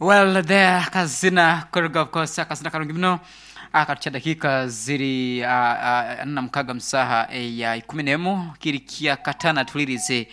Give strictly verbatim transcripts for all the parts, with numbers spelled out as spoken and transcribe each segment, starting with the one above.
Well, there kazina kuruga, of course, akazina karungi muno akatucha dakika ziri uh, uh, na mukaga musaha ya ikumi nemu kiri kya katana tulirize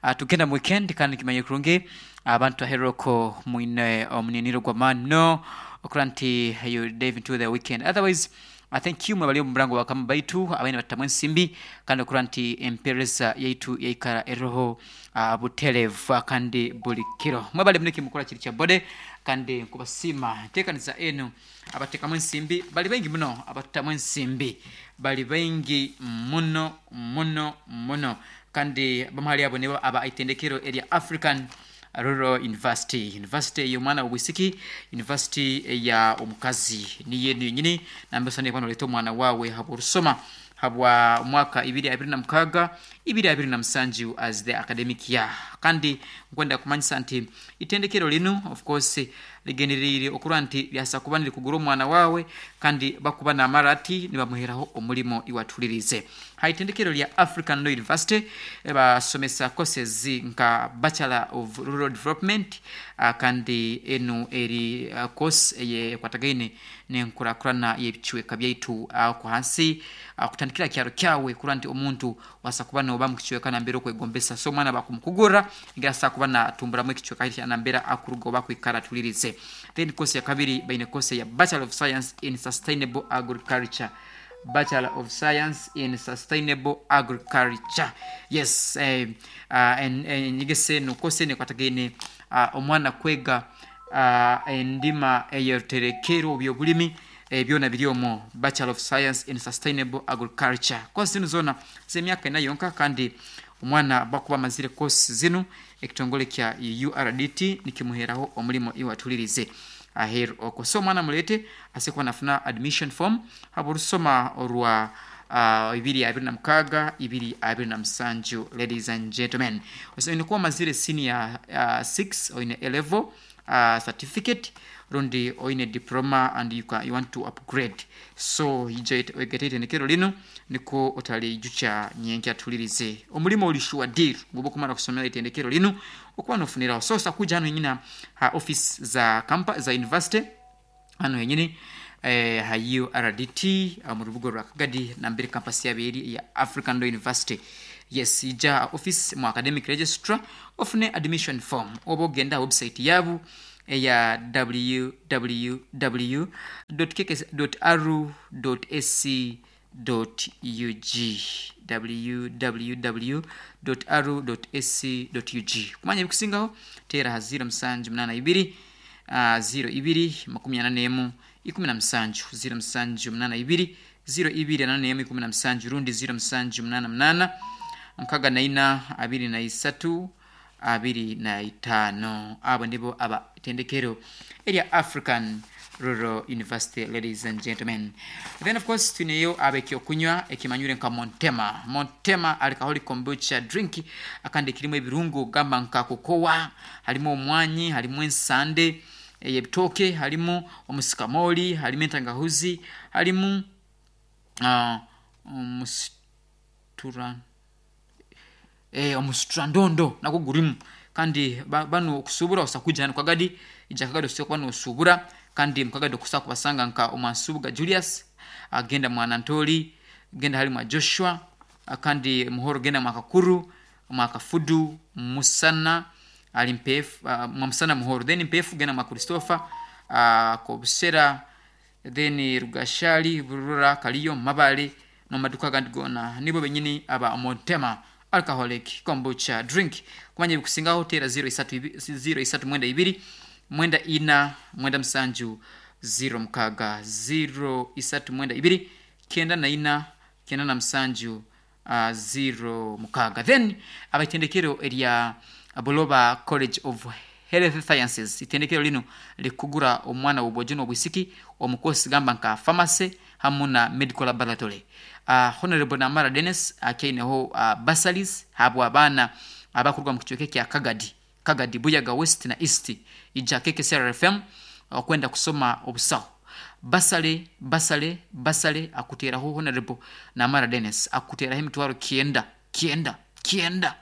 uh, tugenda mu weekend. Kandi kimanye kurungi abantu aheroko mwine omuniniro gwa mani muno okura nti you dive into the weekend. Otherwise, I thank you mwebali omu murango wakama baitu abaine batamu ensimbi kandi okura nti empereza yaitu yaikara eroho uh, buterevu kandi buli kiro mwebali muniki mukora kiri kya bode. Kandi nkubasiima nteekaniza enu abatekamu ensimbi bali baingi muno, abatutamu ensimbi bali baingi muno muno muno. Kandi bamuhali abo nibo aba itendekero erya African Rural University, university ey'omwana w'obwisiki, university eya omukazi niyo enu yenyini nambesa nekuba noleeta omwana wawe habw'orusoma habwa mwaka ibiri abiri na mukaga ibiri abiri na musanju as the academic year. Kandi nkwenda kumanyisa nti itendekero linu, of course, ligendereire okurora nti lyasa kuba nirikugura omwana wawe kandi bakuba namara ati nibamuheraho omulimo iwatulirize. Ha itendekero lya African Law University basomesa courses nka Bachelor of Rural Development, uh, kandi enu eri uh, course eyekwatagaine nenkurakurana y'ebicweka byaitu uh, ku hansi uh, kutandikira kyaro kyawe kurora nti omuntu wasa kuba noba mu kicweka nambere okwegombesa. So omwana bakumukugurra ngira kuba natumburamu ekicweka kya nambere akuruga oba kwikara tulirize. Then course ya kabiri baine course ya Bachelor of Science in Sustainable Agriculture, Bachelor of Science in Sustainable Agriculture, yes. eh, uh, enyegesa eno course eno ekwatagaine uh, omwana kwega uh, endima eyeruterekero byobulimi, eh, byona biri omwo Bachelor of Science in Sustainable Agriculture. Course zinu zona z'emyaka ena yonka kandi omwana bakuba amazire course zinu ekitongole kya U R D T nikimuheraho omulimo iwatulirize aheru okwo. So omwana mulete ase kuba nafuna admission form habwa orwa uh, ibiri abiri na mukaga ibiri abiri na musanju. Ladies and gentlemen, oine kuba omazire senior six, oine A level uh, certificate rundi oine diploma and you, can, you want to upgrade, so ija oigate itendekero linu niko otalijucha nyenkya tulirize omulimo oli sure deal nguba okumara kusomera itendekero linu okuba nofuniraho. So sakuja hano yenyini ha office za kampa za university hano yenyini eh, ha U R D T mu rubuga rwa Kagadi nambere campus yaberi ya African Law University. Yes, ija office mu academic registrar ofune admission form oba ogenda website yabu eya w w w dot r dot a c dot u g, w w w dot r dot a c dot u g. Kumanya ebikusingaho teera ha zero musanju munana ibiri uh, zero ibiri makumi ana nemu ikumi na musanju, zero musanju munana ibiri zero ibiri ana nemu ikumi na musanju, rundi zero musanju munana munana nkaga na ina abiri na isatu abiri na itaano. Abo ndibo aba itendekero erya African Rural University, ladies and gentlemen. Then, of course, tuneyo abekyokunywa ekimanyire nka Montema. Montema alcoholic kombucha drink akandi kirimu ebirungo gamba nka kokowa, harimu omwanyi, harimu ensande ey'ebitooke, harimu omusikamoli, harimu entangahuzi, harimu uh, omusitura eh, omusitrandondo nagwo gurimu. Kandi ba, bano okusubura osakuja hano Kagadi, ija Kagadi osobola kuba nosubura. Kandi mukagadi okusobola kubasanga nka omwansubuga Julius, agenda mwanantoli, genda hali mwa Joshua, kandi muhoro genda mwakakuru, mwakafudu musana ali mpefu, uh, mwa musana muhoro, then mpefu genda mwa Christopher, uh, kobusera, then Rugashali, Burura, Kaliyo, Mabale nomaduka gandi gona. Nibo benyini aba Montema alcoholic kombucha drink. Kumanya ebikusingaho tera zero isatu mwenda ibiri mwenda ina mwenda musanju zero mukaga, zero isatu mwenda ibiri kenda na ina kenda na musanju uh, zero mukaga. Then abaitendekero erya Buloba College of Health Sciences, itendekero lino likugura omwana w'obwojo n'obwisiki omukosi gamba nka pharmacy hamu na medical laboratory. uh, honorable Namara Dennis akyaineho uh, bursaries habwa abaana abakuruga mu kicweka kya Kagadi, Kagadi, Buyaga West na East. Ija K K C R F M okwenda kusoma obusaho, bursary, bursary, bursary akuteraho Honorable Namara Dennis, akuteraho emitwaro kyenda kyenda kyenda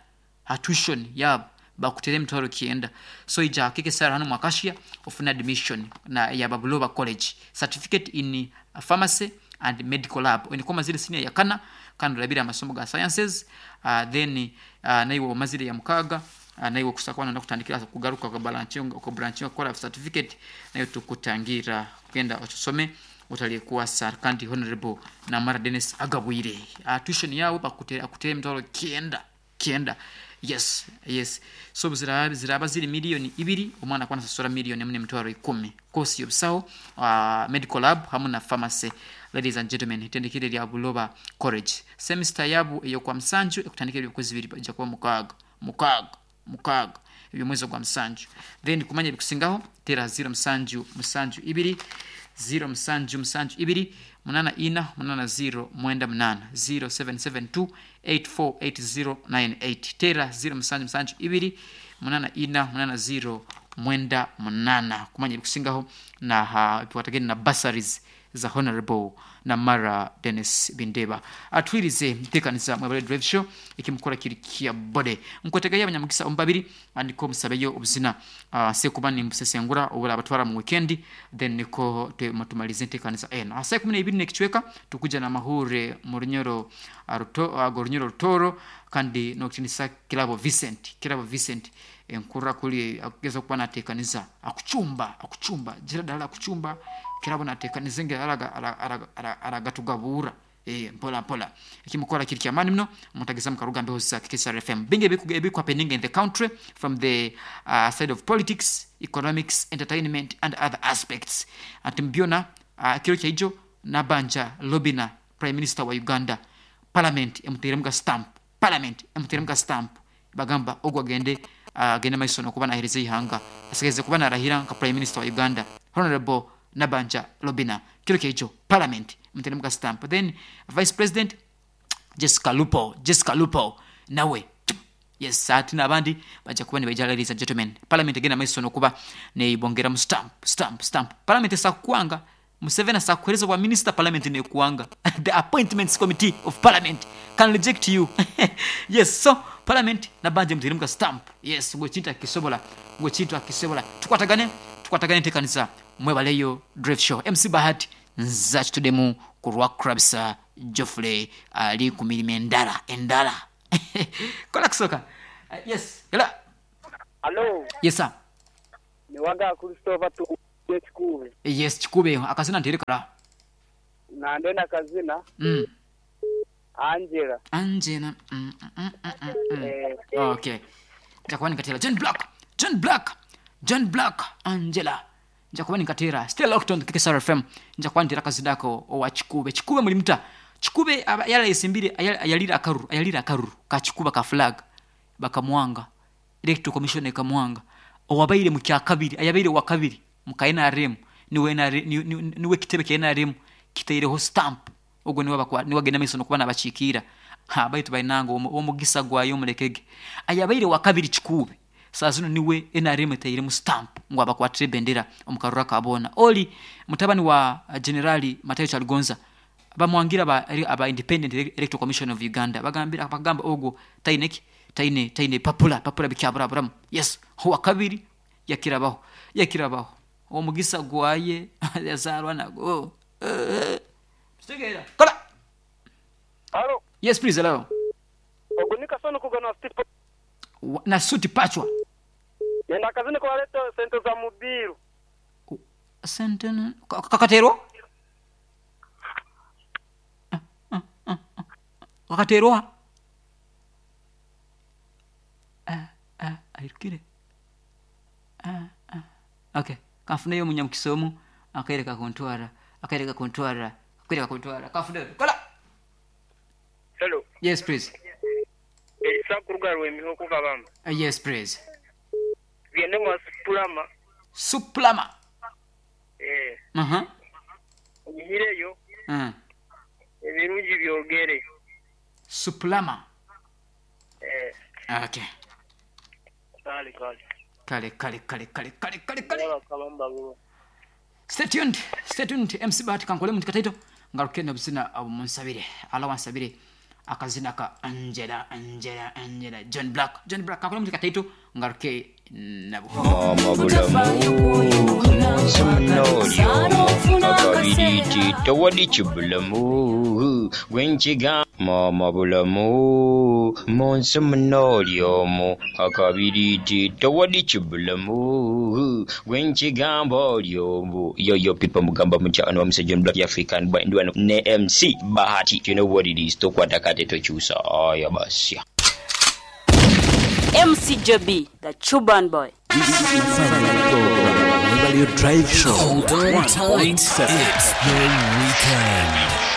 ha tuition yabo. Bakutere emitwaro kyenda. So ija kikesara hano mwakashia ofuna admission na ya Babuloba College, certificate in pharmacy and medical lab. Oine mazire senior ya kana kandi olabire amasomo ga sciences, uh, then uh, naiwe omazire ya mukaga, uh, naiwe kusakwana nakutandikira kugaruka kwa branch kwa branch kukora certificate, nayo tukutangira kugenda otusome utalikuwa kandi Honorable Namara Dennis Agabwire. Uh, tuition yawe bakutera akutera emitwaro kyenda kyenda. Yes, yes. So ziraba ziraba ziri milioni ibiri, omwana kwana sasura milioni emwe emitwaro ikumi. Course yobusaho, uh, medical lab hamwe na pharmacy. Ladies and gentlemen, itendekere lya Buloba College. Semester yabu eyo kwa Msanju ekutandikira ebyokwezi bibiri ija kuba mukaaga, mukaaga, mukaaga ebyo mwezi gwa Msanju. Then kumanya ebikusingaho tera zero Msanju Msanju ibiri zero Msanju Msanju ibiri munana ina munana zero mwenda munana zero seven seven two eight four eight zero nine eight. Tera zero Msanju Msanju ibiri munana ina munana zero mwenda munana kumanya ebikusingaho na ha tuwatageni na bursaries za Honorable Namara Dennis Bindeba. Atwirize ntekaniza mwebale drive show ikimukora kiri kia bode nkwetega y'abanyamugisa ombabiri andiko musabeyo obuzina uh, sekuba ni mbusesengura obula abatwara mu weekend, then niko tumalize ntekaniza eno asa kumi na ibiri nekichweka tukuja na mahure mu runyoro aruto ago runyoro rutoro kandi no kitinisa Kirabo Vincent Kirabo Vincent enkura kuli akugeza kuba natekaniza akuchumba akuchumba jira dala akuchumba Kirabo natekaniza nge araga aragatugabura eh mpola mpola ikimukora kiri kyamani mno mutageza mukaruga mbeho za K S R F M binge biku biku happening in the country from the uh, side of politics, economics, entertainment and other aspects. Ati mbiona uh, kiro kyaijo Nabanja Lobina Prime Minister wa Uganda, parliament emuteremka stamp, parliament emuteremka stamp bagamba ogwa gende agende uh, maiso nokuba nahereza ihanga asigeze kuba narahira nka Prime Minister wa Uganda Honorable Nabanja Lobina kiro kyaijo parliament mtelemka stamp. Then Vice President Jessica Lupo Jessica Lupo nawe yes ati nabandi baja kuba nibaija. Ladies and gentlemen, parliament again maiso nokuba neibongera mu stamp stamp stamp. Parliament sakuanga Museveni asakuhereza wa minister, parliament nekuanga the appointments committee of parliament can reject you. Yes, so parliament nabanje mtelemka stamp. Yes, ngwe chinta kisobola ngwe chinta kisobola tukwatagane tukwatagane tekanisa mwebaleyo drive show. M C Bahati nza kitudemu ku lwa Krabsa Geoffrey ali ku mirimo endala endala. Kola kusoka. Uh, yes, hello. Hello. Yes sir. Ni waga Christopher tu Chikube. Yes, Chikube akazina nterekara. Na ndena kazina. Mm. Angela. Angela. Mm, mm, mm, mm, mm. Eh. Okay. Nitakuwa nikatela John Black. John Black. John Black Angela. Njakuba nikatera still locked on K S R F M. Njakuba ntera kazidako owa Chikube. Chikube mulimta. Chikube yala isimbire ayalira akaruru ayalira akaruru ka Chikuba ka flag bakamwanga Electoral Commission ekamwanga owabaire mu kya kabiri ayabaire wa kabiri mu ka N R M niwe niwe kitebe kya N R M kiteireho stamp ogwo niwe bakwa niwe agenda maiso nokuba nabachikira ha baitu bainango omugisa gwayo mulekege ayabaire wa kabiri Chikube sazino niwe N R M iteire mu stamp ngo abakwatire bendera omukarura kabona oli mutabani wa Generali Matayo Kyaligonza bamwangira ba aba Independent Electoral Commission of Uganda bagambira bagamba ogwo taineki taine taine papula papula bikyabura buramu. Yes, huwa kabiri yakirabaho yakirabaho omugisa gwaye yazarwa nago stegera kola. Hello. Yes please, hello. Ogunika sono kugana street na suti pachwa yenda kazini kwa leto sente za mubiru sente kakatero kakatero ah ah ayirukire ah ah okay kafuneyo munyamukisomo akaereka kontwara akaereka kontwara akaereka kontwara kafuneyo kola. Hello. Yes please. Elisa kurugarwe emihoko kabamba. Uh, yes please. Byende mwa suplama. Suplama. Eh. Mhm. Uh -huh. Mhm. Ebirungi byogere. Suplama. Eh. Okay. Kale kale. Kale kale kale kale kale kale kale. Kabamba bulo. Stay tuned. Stay tuned. M C Bahati kankole muntu kataito ngaruke nobuzina omunsabire. Ala wansabire. Akazina ka Angela, Angela, Angela, John Black, John Black kakole muzika taito ngaruke nabo. Mama bulamu munsi muno oli akabiriti tewali kibulamu gwenkiga mama bulamu munsi muno oli omu akabiriti tewali kibulamu gwenkigamba oli omu. Yo yo people, mugamba mutya? Ono bamusa John Black, African Boy, ndi wano ne M C Bahati. You know what it is, tokwata kate tokyusa aya basya. M C J B, the Cuban boy. Value Drive Show. Hold on tight. It's the weekend.